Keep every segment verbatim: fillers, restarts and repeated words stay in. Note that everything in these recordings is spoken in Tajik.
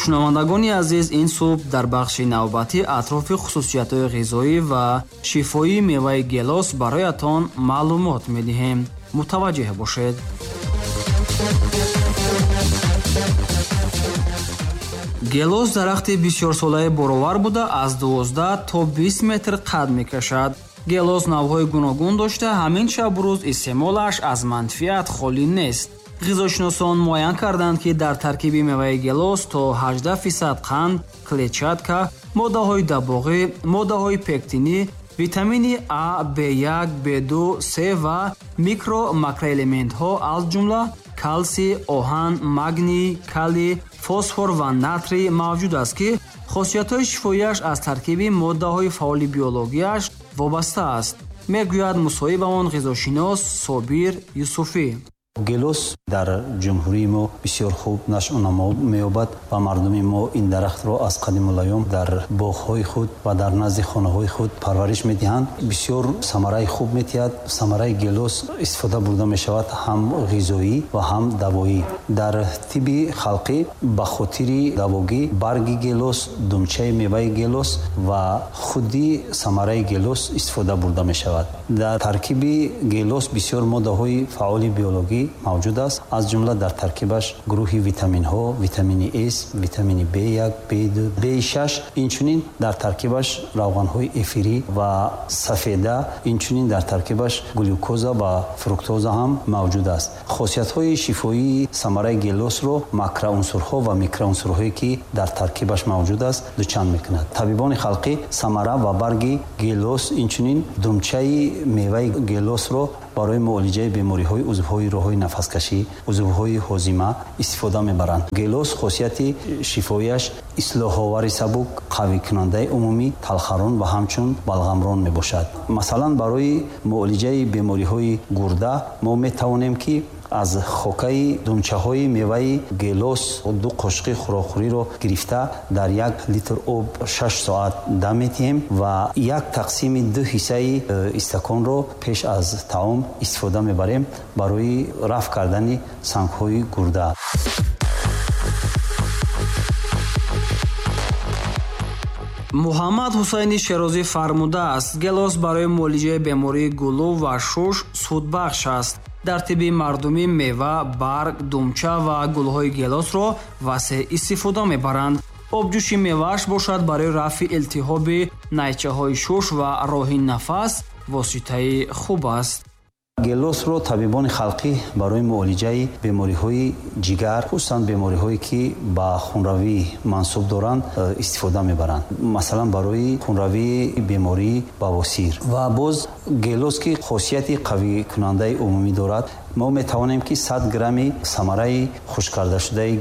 Шунавандагони азиз, ин субҳ дар бахши навбатӣ атрофи хусусиятҳои ғизоӣ ва шифоии меваи гелос бароятон маълумот медиҳем. Мутаваҷҷеҳ бошед. Гелос дарахти бисёрсолаи боровар буда, аз дувоздаҳ то бист метр қад мекашад. Гелос навъҳои гуногун дошта, ҳамин шабу рӯз истеъмолаш аз манфиат холӣ нест. Ғизошиносон муайян карданд, ки дар таркиби меваи гелос то ҳаждаҳ фисад қанд, клетчатка, моддаҳои дабоғӣ, моддаҳои пектинӣ, витамини А, Б як, Б ду, С ва микро-макроэлементҳо аз ҷумла калсий, оҳан, магний, калий, фосфор ва натрий мавҷуд аст, ки хосиятҳои шифоияш аз таркиби моддаҳои фаъоли биологияш вобаста аст, мегӯяд мусоҳибамон ғизошинос Собир Юсуфӣ. Гелос дар ҷумҳурии мо бисёр хуб нашъунамо меёбад ва мардуми мо ин дарахтро аз қадимулайём дар боғҳои худ ва дар назди хонаҳои худ парвариш медиҳанд. Бисёр самараи хуб медиҳад. Самараи гелос истифода бурда мешавад ҳам ғизоӣ ва ҳам давоӣ. Дар тибби халқӣ ба хотири давогӣ барги гелос, думчаи меваи гелос ва худи самараи гелос истифода бурда мешавад. Дар таркиби гелос бисёр моддаҳои фаъоли биологӣ мавҷуд аст, аз ҷумла дар таркибаш гурӯҳи витаминҳо, витамини С, витамини Б як, Б ду, Б шаш, инчунин дар таркибаш равғанҳои эфирӣ ва сафеда, инчунин дар таркибаш глюкоза ва фруктоза ҳам мавҷуд аст. Хосиятҳои шифоии самараи гелосро макроунсурҳо ва микроунсурҳое ки дар таркибаш мавҷуд аст дучанд мекунад. Табибони халқӣ самара ва барги гелос, инчунин думчаи меваи гелосро барои муолиҷаи бемориҳои узвҳои роҳҳои нафаскашӣ, узвҳои ҳозима истифода мебаранд. Гелос хосияти шифоияш ислоҳовари сабук, қавикунандаи умумӣ, талхарон ва ҳамчун балғамрон мебошад. Масалан, барои муолиҷаи бемориҳои гурда мо метавонем ки аз хокаи думчаҳои меваи гелос ду қошуқи хӯрокхӯриро гирифта дар як литр об шаш соат дам медиҳем ва як тақсими ду ҳиссаи истаконро пеш аз таом истифода мебарем барои рафъ кардани сангҳои гурда. Муҳаммад Ҳусайни Шерозӣ фармудааст, гелос барои муолиҷаи бемории гулӯ ва шуш судбахш аст. Дар тибби мардумӣ мева, барг, думча ва гулҳои гелосро васеъ истифода мебаранд. Обҷӯши мевааш бошад барои рафъи илтиҳоби найчаҳои шуш ва роҳи нафас воситаи хуб аст. Гелосро табибони халқӣ барои муолиҷаи бемориҳои ҷигар, хусусан бемориҳое ки ба хунравӣ мансуб доранд, истифода мебаранд. Масалан, барои хунравии бемории бавосир. Ва боз гелос ки хосияти қавикунандаи умумӣ дорад, мо метавонем ки сад грамми самараи хушккардашудаи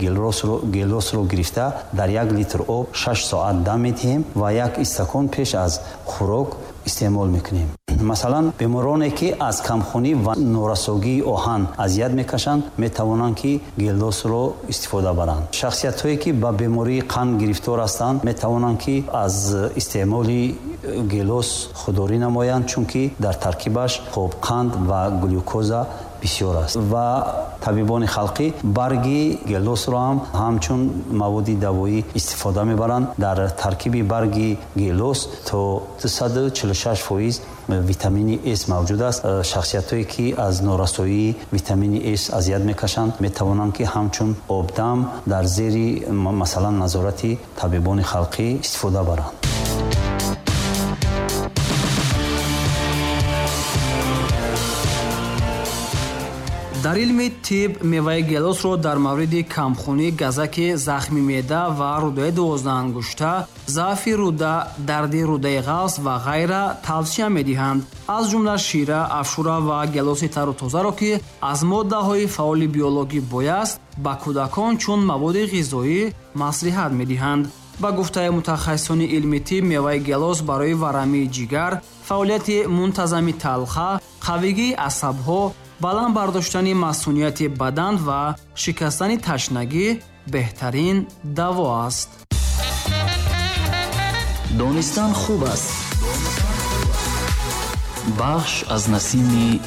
гелосро гирифта дар як литр об шаш соат дам медиҳем ва як истакон пеш аз хӯрок истеъмол мекунем. Масалан, бемороне ки аз камхунӣ ва норасогии оҳан азият мекашанд, метавонанд ки гелосро истифода баранд. Шахсиятҳое ки ба бемории қанд гирифтор ҳастанд, метавонанд ки аз истеъмоли гелос худдорӣ намоянд, чунки дар таркибаш хобқанд ва глюкоза бисёр аст. Ва табибони халқӣ барги гелосро ҳам ҳамчун маводи давоӣ истифода мебаранд. Дар таркиби барги гелос то дусаду чилу шаш фоиз витамини С мавҷуд аст. Шахсиятҳое ки аз норасоии витамини С азият мекашанд, метавонанд ки ҳамчун обдам дар зери масалан назорати табибони халқӣ истифода баранд. Дар илми тиб меваи гелосро дар мавриди камхунӣ, газаки, захми меъда ва рӯдаи дувоздаҳангушта, заъфи рӯда, дарди рӯдаи ғафс ва ғайра тавсия медиҳанд. Аз ҷумла шира, афшура ва гелоси тару тозаро, ки аз моддаҳои фаъоли биологӣ бой аст, ба кӯдакон чун маводи ғизоӣ маслиҳат медиҳанд. Ба гуфтаи мутахассисони илми тиб, меваи гелос барои варамии ҷигар, фаъолияти мунтазами талха, қавигии асабҳо, баланд бардоштани масунияти бадан ва шикастани ташнагӣ беҳтарин даво аст. Донистан хуб аст. Бахш аз насими